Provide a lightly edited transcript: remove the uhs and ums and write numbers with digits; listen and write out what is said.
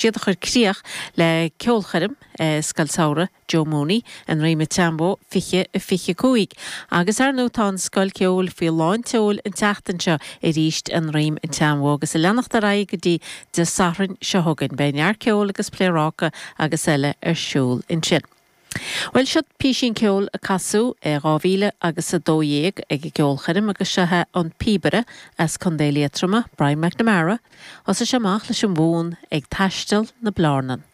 Siad a chuir críoch le ceolchoirm Scoil Samhraidh Joe Mooney i nDroim an tSeanbhó 20 25. Agus ar ndóigh tá an Scoil Ceoil faoi lán tseoil an tseachtain seo arís i nDroim an tSeanbhó agus ag leanacht ar aghaidh go dtí Dé Sathairn seo chugainn. Beidh neart ceoil agus pléaráca agus eile ar siúl ansin. Bhuel, seo písín ceoil a casadh i 2000 agus 12 ag an gceolchoirm agus seo é an píobaire as Contae Liatroma, Brian McNamara. Thosaigh sé amach leis an bhfonn Ag Taisteal na Blarnan.